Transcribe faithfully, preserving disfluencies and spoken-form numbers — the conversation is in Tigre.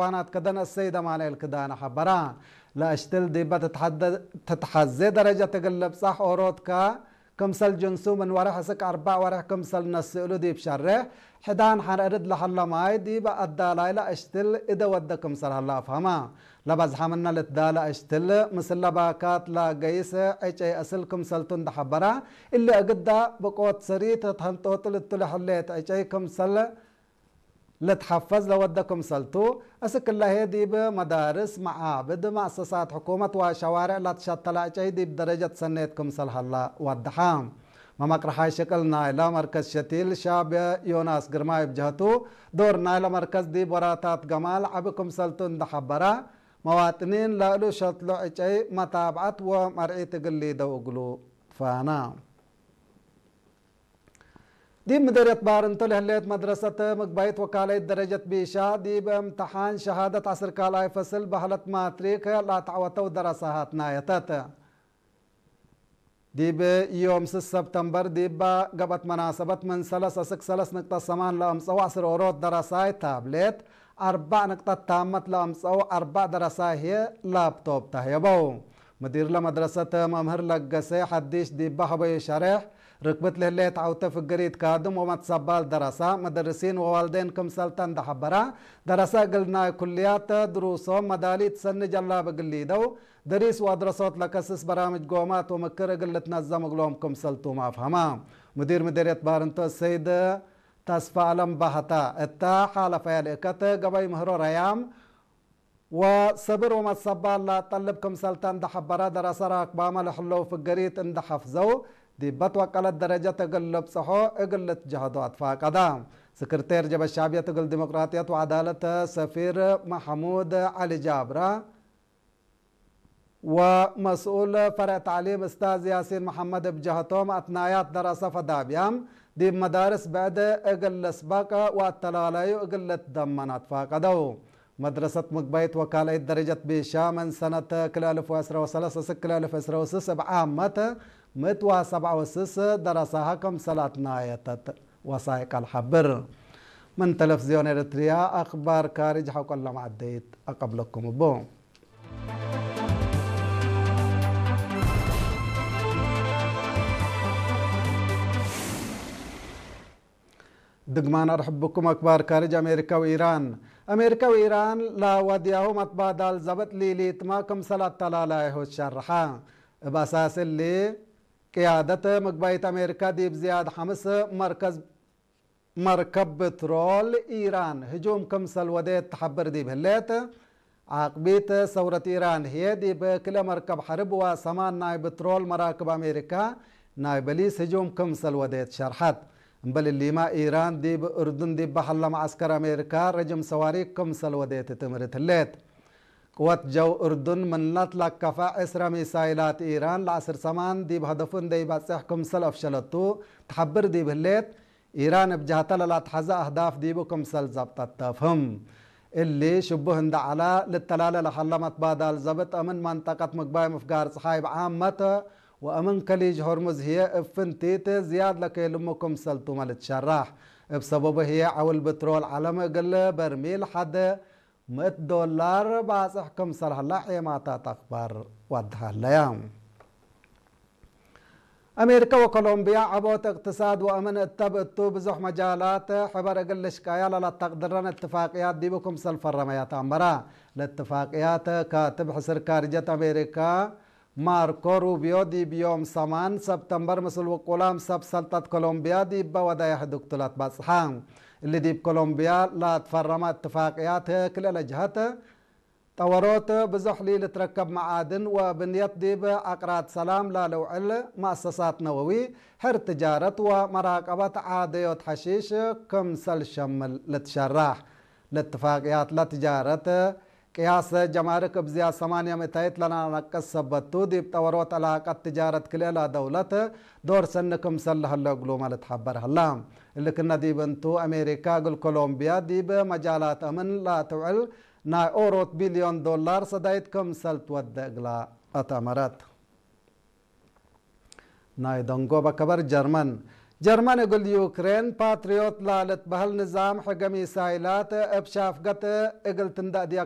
ሐይዋናት ከደን አሰይድ አማኑኤል ክዳነ ሐበራ። ለአሽትል ዲበ ትትሐደ-፣ ትትሐዜ ደረጀት እግል ልብጻሕ ኦሮትካ ክምሰል ጅንሱ ምን ወሬሕ እስክ አርበዕ ወሬሕ ክምሰል ነስእሉ ዲብ ሸሬሕ፣ ሕዳን ሐር እርድ ለሀለ ማይ ዲበ አዳላይ ለአሽትል እደ ወደ ክምሰል ሀለ አፍሀማ። ለበዝሐ ምነ ልትዳለ አሽትል ምስለ ባካት ለገይስ ዕጨይ አስል ክምሰልቱ እንደ ሐበራ፣ እሊ እግዳ ብቆት ሰሪት ተንጦጥል እቱ ለህሌት ዕጨይ ክምሰል ልትሐፈዝ ለወደ ክምሰልቱ፣ እስክ እለ ህዬ ዲብ መዳርስ፣ መዓብድ፣ መአሰሳት ሕኩመት ወሸዋሬዕ ለትሸተለ ዕጨይ ዲብ ደረጀት ሰኔት ክምሰል ሀላ ወደሐ። መመቅረሓይ ሽቅል ናይለ መርከዝ ሸቲል ሻብ ዮናስ ግርማይ እብ ጀህቱ፣ ዶር ናይለ መርከዝ ዲብ ወራታት ገማል ዐቢ ክምሰልቱ እንደ ሐበረ፣ መዋጥኒን ለእሉ ሸትሎ ዕጨይ መታብዐት ወመርዒት እግል ሊደው እግሉ ትፋነ። ዲብ ምደርየት ባርንቶ ለህሌት መድረሰት ምግባይት ወካለይት ደረጀት ቢሻ፣ ዲብ እምተሓን ሸሃደት ዐስር ካልኣይ ፈስል በህለት ማትሪክ ለአተዐወተው ደረሳሃት ናየተት። ዲብ ዮም ስስ ሰብተምበር ዲብ ገብአት መናሰበት ምን ሰለስ እስክ ሰለስ ንቅጠት ሰማን ለአምጸው ዐስር ኦሮት ደረሳይ ታብሌት፣ አርበዕ ንቅጠት ታመት ለአምጸው አርበዕ ደረሳይ ህዬ ላፕቶፕ ተህየበው። ምዲር ለመድረሰት መምህር ለገሰ ሐዲሽ ዲበ ሀበዩ ሸሬሕ፣ ርክብት ለህሌት ዐውተ ፍግሪት ካድም ወመትሰባል ደረሳ፣ መደርሲን ወዋልዴን ክምሰልተ እንደ ሐበራ፣ ደረሰ እግል ናይ ኩልያት ድሩሶም መዳሊት ሰኒ ጀላብ እግል ሊደው፣ ደሪስ ወአድረሶት ለከስስ በራምጅ ጎማት ወምክር እግል ልትነዘም እግሎም ክምሰልቱም አፍሀማ። ሙዲር ምዴርየት ባርንቶ ሰይድ ተስፋአለም ባህታ እተ ሓለፈየ ልእከት ገበይ ምህሮ ረያም ወሰብር ወመትሰባል ለአጠልብ ክምሰልተ እንደ ሐበረ፣ ደረሰ ራክባመ ለህለው ፍገሪት እንደ ሐፍዘው፣ ዲበ ትወቀለት ደረጀት እግል ልብጽሖ እግል ልትጀህዶ አትፋቀደ። ስክርቴር ጀበ ሻብየት እግል ዲሞቅራጥየት ወዐዳለት ሰፊር መሐሙድ ዐሊ ጃብረ፣ ወመስኡል ፈርዕ ተዕሊም እስታዝ ያሲን መሐመድ እብ ጀሀቶም፣ አትናያት ደረሰ ፈዳብያም ዲብ መዳርስ ብዕድ እግል ልስበቅ ወአተላላዩ እግል ልትደመን አትፋቀደው። መድረሰት ምግባይት ወካልአይት ደረጀት ቢሻ ምን ሰነት ክልኤ አልፍ ወዕስራ ወሰለስ እስክ ክልኤ አልፍ ወዕስራ ወስስ እብ ዓመት ምእት ወሰብዓ ወስስ ደረሳሀ ክምሰል አትናየተት። ወሳይቅ አልሐብር። ምን ተለፍዝዮን ኤረትርያ አክባር ካርጅ ሐቆለ መዐደይት አቀብለኩም እቡ። ድግማን አርሕብኩም። አክባር ካርጅ። አሜሪካ ወኢራን። አሜሪካ ወኢራን ለወድያሁ መትባዳል ዘብጥ ሊሊትመ ክምሰል አተላላይሁ ትሸርሐ። እብ አሳስ እሊ፣ ቅያደት ምግባይት አሜሪካ ዲብ ዝያድ ሐምስ መርከዝ መርከብ ብትሮል ኢራን ህጁም ክምሰል ወዴት ተሐብር ዲብ ህሌት፣ ዓቅቢት ሰውረት ኢራን ህዬ ዲብ ክልኤ መርከብ ሐርብ ወሰማን ናይ ብትሮል መራክብ አሜሪካ ናይ በሊስ ህጁም ክምሰል ወዴት ሸርሐት። እምበል እሊመ፣ ኢራን ዲብ እርዱን ዲብ በሀለ መዐስከር አሜሪካ ረጅም ሰዋሪክ ክምሰል ወዴት ትእምርት ህሌት። ቅወት ጀው እርዱን ምን ለትለከፈ ዕስረ ሚሳይላት ኢራን ለዐስር ሰማን ዲብ ሀደፉ እንዴ ኢበጽሕ ክምሰል አፍሸለቱ ተሐብር ዲብ ህሌት፣ ኢራን እብ ጀሀተ ለለአትሐዘ አህዳፍ ዲቡ ክምሰል ዘብጠት ተፍህም። እሊ ሽቡህ እንደ ዐለ፣ ልተላለ ለሀለ መትባዳል ዘብጥ እምን መንጠቀት ምግባይ ምፍጋር ጸሓይ ብዓመት ወእምን ከሊጅ ሆርሙዝ ህዬ እብ ፍንቲት ዝያድ ለኬልሙ ክምሰል ቱመ ልትሸራሕ። እብ ሰበቡ ህዬ ዐውል ብትሮል ዐለም እግል በርሚል ሐድ ምእት ዶላር ባጽሕ ክምሰል ሀላ ዔማታት አክባር ወድሃለያ። አሜሪከ ወኮሎምብያ ዐቦት እቅትሳድ ወአምን እተብ እቱ ብዙሕ መጃላት ሕበር እግል ልሽቀያ ለለተቅድረን እትፋቅያት ዲቡ ክምሰል ፈረመያ ተአመራ። ለእትፋቅያት ካትብ ሕስር ካርጀት አሜሪካ ማርኮ ሩቢዮ ዲብ ዮም ሰማን ሰብተምበር ምስል ውቁላም ሰብ ሰልጠት ኮሎምብያ ዲበ ወደየ ሕዱግቱ ለትበጽሐ። እሊ ዲብ ኮሎምብያ ለትፈረመ እትፋቅያት ክልኤ ለጀሀት ጠወሮት ብዙሕ ሊልትረከብ መዓድን ወብንየት ዲብ አቅራድ ሰላም ላልውዕል መአሰሳት ነወዊ፣ ሕር ትጃረት ወመራቀበት ዓደዮት ሐሺሽ ክምሰል ሸምል ልትሸራሕ። ለእትፋቅያት ለትጃረት ቅያስ ጀማርክ እብ ዝያድ ሰማንየ ምእታይት ለነቀስ ሰበት ቱ፣ ዲብ ጠወሮት ዕላቀት ትጃረት ክልኤ ለደውለት ዶር ሰኒ ክምሰል ለህለ እግሉመ ልትሐበር ሀላ። እሊ ክነ ዲብ እንቱ፣ አሜሪካ እግል ኮሎምብያ ዲብ መጃላት አምን ለትውዕል ናይ ኦሮት ቢልዮን ዶላር ሰዳይት ክምሰል ትወዴ እግላ አተመረት። ናይ ደንጎበ ከበር ጀርመን። ጀርመን እግል ዩክሬን ፓትሪዮት ለልትበህል ንዛም ሕገ ሚሳይላት እብ ሻፍገት እግል ትንደእ ድያ